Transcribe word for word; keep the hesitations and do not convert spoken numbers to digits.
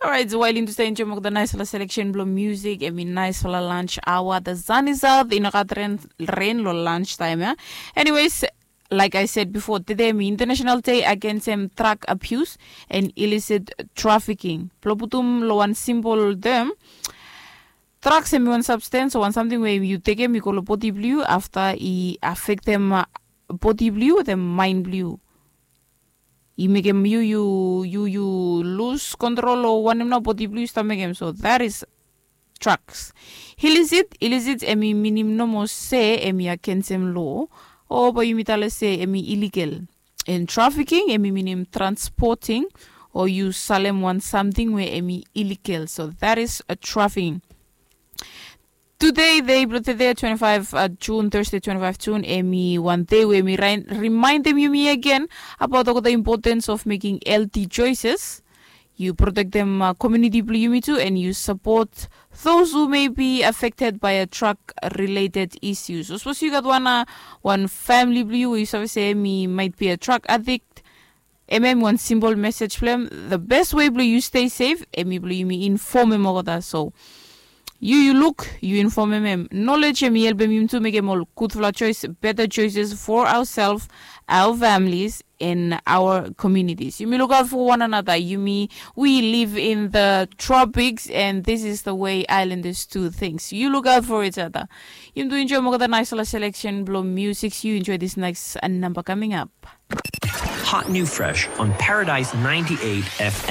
Orait, wael yumi tu stap enjoim olgeta naisfala seleksen blong musik, em i naisfala lunch hour. The sun is out, i no gat ren, ren long lunch time ya. Anyways, like I said before, tede em i International Day Against em Drug Abuse and Illicit Trafficking. Blong putum long wan simple term, drugs em i wan substance o wan samting we yu tekem i go long bodi blong yu afta i afektem bodi blong yu wetem mind blong yu. I mekem yu yu yu yu lus kontrol o wanem nao bodi blong yu stap mekem, so that is drugs. Illicit, illicit em i minim nomo se em i agensem lo, o bae yumi tale se em i illegal. And trafficking em i minim transporting o yu salem wan samting we em i illegal, so that is a trafficking. Tude, dei blong tude, twenty five June, Thursday, twenty five June, em i wan dei we em i rimaindem yumi agen abaot olgeta importance of making healthy choices. Yu protektem komuniti blong yumi tu, and yu sapot those who may be affected by a drug related issues. Sapos yu gat wan wan famili blong yu we yu save se em i might be a drug addict, em em wan simple message blong em. The best way blong yu stay safe em i blong yumi infomem olgeta. So yu yu luk, yu infomem em. Knowledge em i helpem yumi tu mekem ol gudfala choice, better choices for ourselves, our families, and our communities. Yumi look out for one another. Yumi, we live in the tropics, and this is the way islanders do things. You look out for each other. Yumi tu enjoim olgeta naisfala selection blong music. You enjoy this next number coming up. Hot new fresh on Paradise ninety-eight F M.